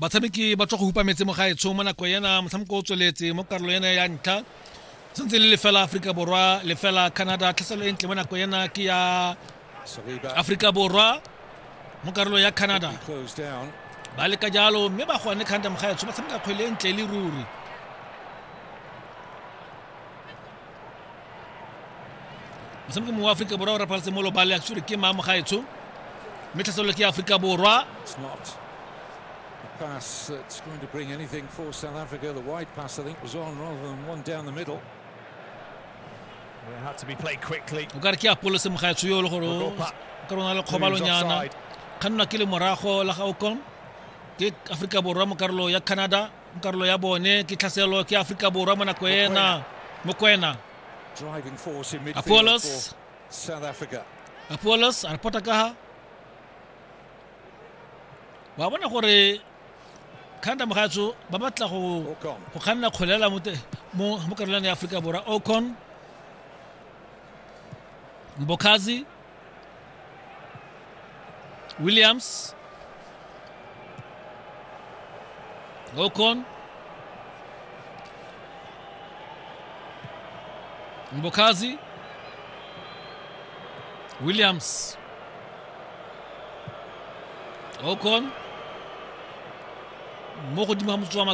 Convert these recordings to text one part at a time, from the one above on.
Batshameki ba tswa go hupa metse mo gaetsho mo nako ena, motshameko o tsweletse mo karolo ena ya ntlha, sentse le lefela Aforika Borwa lefela Canada. Tlhaselo e ntle mo nako ena ke ya Aforika Borwa mo karolo ya Canada, ba leka jalo mme ba gone Canada mogaetsho ba tshameka kgwele e ntle le ruri. Motshameki mongwe wa Aforika Borwa o rapaletse mo lobale a tsure ke mang mogaetsho, mme tlhaselo ke Aforika Borwa. Pass that's going to bring anything for South Africa. The wide pass, I think, was on rather than one down the middle. It had to be played quickly. O ka re ke Apollo se mogaetsho yo le gore o ka rona le kgobalonyana kgannwa ke le morago la ga Ocon ke Aforika Borwa mo karolo ya Canada, mo karolo ya bone ke tlhaselo ke Aforika Borwa mo nako ena. Mokwena, Apollos, Apollos a reporta ka ha wa bona gore Canada mogatso ba batla go kganna kgolela mo karolong ya Aforika Borwa. Ocon, Mbokazi, Williams, Ocon, Mbokazi, Williams, Ocon mo godimo ga motsotso wa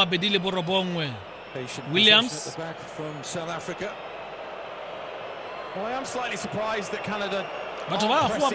29. Williams. Well, I am slightly surprised that Canada Batho ba goa.